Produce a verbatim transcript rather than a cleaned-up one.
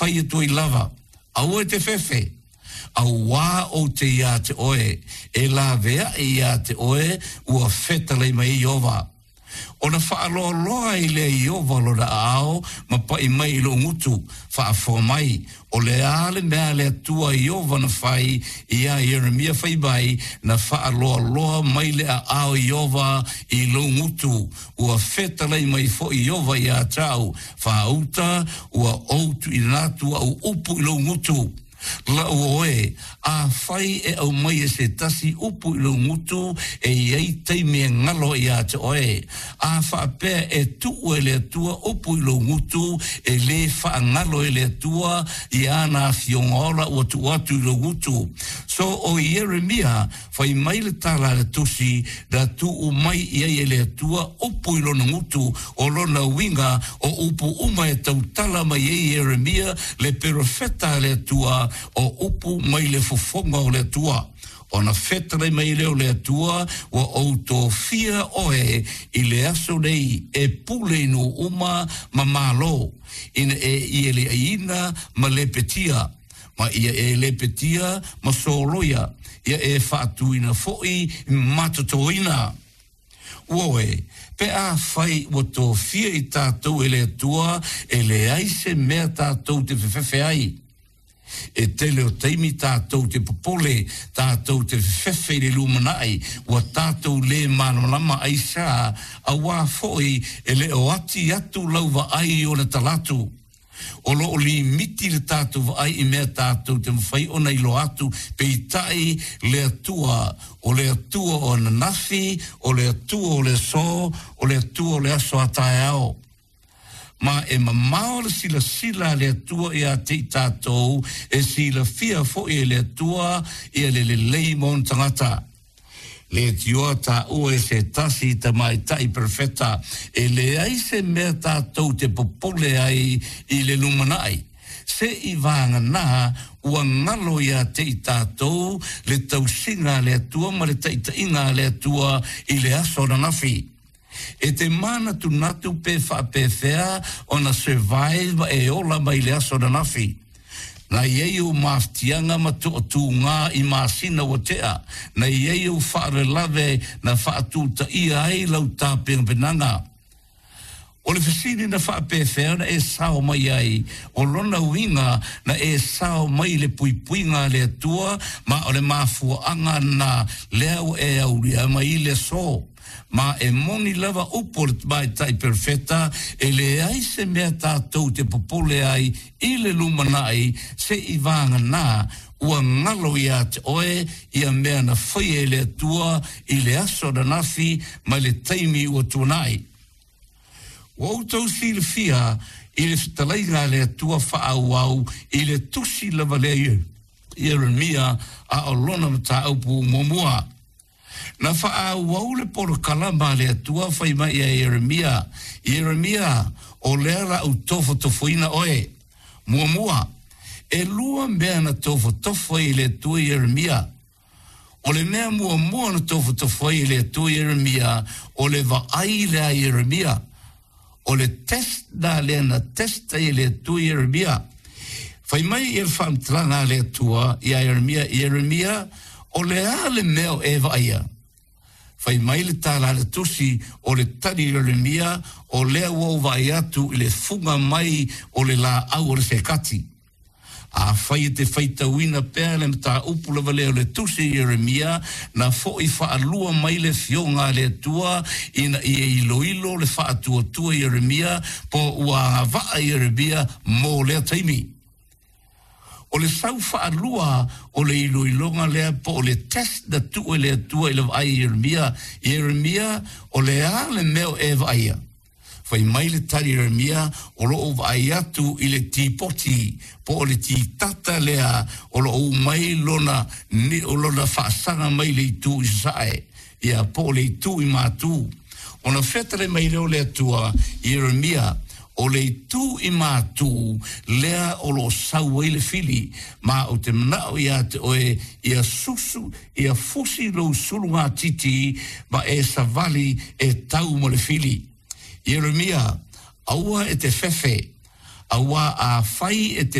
Fai atu ai lava, Aua e te fefe, auā ou te iā te oe, e laveaʻi iā te oe ua fetalai mai ai Ieova. Ona faaloaloa ai lea e Ieova lona aao ma paʻi mai i loʻu gutu, faafofoga mai, o le a le mea a le Atua Ieova na fai iā Ieremia fai mai, na faaloaloa mai le aao o Ieova i lou gutu, ua fetalai mai foi Ieova iā te au, faauta ua ou tuuina atu au upu i lou gutu. La'u oe, afai e aumai e se tasi upu i lou gutu, e i ai taimi e galo ai iā te oe. A faapea e tuu e le Atua upu i lou gutu, e lē faagalo e le Atua ia ana afioga ola ua tuu atu i lou gutu. So o Ieremia, fai mai le tala a le Tusi, na tuu mai i ai e le Atua upu i lona gutu, o lona uiga o upu uma e tautala mai ai Ieremia le perofeta a le Atua, o upu mai le fofoga o le Atua. Ona fetalai mai lea o le Atua, Ua ou tofia oe i le aso nei e pule i nuu uma ma malo, ina e ieleaiina ma lepetia, ma ia e lepetia ma soloia, ia e faatuina foi matotoina. Uoe, pe afai ua tofia i tatou e le Atua, e leai se mea tatou te fefefe ai. E tele o taimi tatou te popole, tatou te fefefe i le lumanai, ua tatou lē malamalama aisea, auā foi e le o ati atu lau vaai i ona talaatu. O lo o limiti le tatou vaai i mea tatou te mafai ona iloa atu, peitai le Atua, o le Atua o ananafi, o le Atua o le aso, o le Atua o le aso a taeao. Ma e mamao le silasila a le Atua ia te i tatou, e silafia foi e le Atua ia le lelei mo ona tagata. Leitioa taua e se tasi tamaitai perofeta, e leai se mea tatou te popole ai i le lumanai, se i vagana ua galo ia te i tatou le tausiga a le Atua ma le taitaiga a le Atua i le aso ananafi. E te manatunatu pe faapefea ona survive ma e ola mai le aso ananafi. Na i ai ou mafatiaga ma toatūgā i masina ua tea, na i ai ou faalavelave na faatutaia ai lau tapenapenaga. O le fesili na faapefea ona e sao mai ai, o lona uiga na e sao mai i le puipuiga a le Atua ma o le mafuaaga na lea ua e aulia mai i le aso. Ma e moni lava upu o le tamaitai perofeta, e leai se mea tatou te popole ai i le lumanai se i vagana ua galo iā te oe ia mea na faia e le Atua i le aso ananafi mai le taimi ua tuanai. Ua outou silafia i le fetalaiga a le Atua faaauau i le tusi lava lea Ieremia a o lona mataupu muamua. Na faaauau le polokalama a le Atua fai mai ia Ieremia, Ieremia, o lea la ou tofotofoina oe. Muamua, e lua mea na tofotofo ai e le Atua Ieremia. O le mea muamua na tofotofo ai e le Atua Ieremia, o le vaai lea a Ieremia. O le test na lea na test ai e le Atua Ieremia. Fai mai ia le faamatalaga a le Atua iā Ieremia, Ieremia, o le a le mea o e vaaia? Fai mai le tala a le Tusi, o le tali i Ieremia, o lea ua ou vaai atu i le fuga mai o le laau o le sekati. Afai e te faitauina pea le mataupu lava lea o le Tusi i Ieremia, na foi faalua mai le Afioga a le Atua ina ia iloilo le faatuatua Ieremia po ua agavaa Ieremia mo lea taimi. O le sau faalua o le iloiloga lea po o le test na tuu e le Atua i le vaai i Ieremia, Ieremia, o le a le mea o e vaaia? Fai mai le tali a Ieremia, o lo o vaai atu i le tipoti, po o le titata lea o lo o u mai lona, o lona faasaga mai le itu i sasae, ia, po o le itu i matu. Ona fetalai mai lea o le Atua i Ieremia, O le itu i matu lea o lo o sau ai le fili, ma ou te manao iā te oe ia susu, ia fusi lou sulugatiti ma e savali e tau mo le fili. Ieremia, aua e te fefe, auā afai e te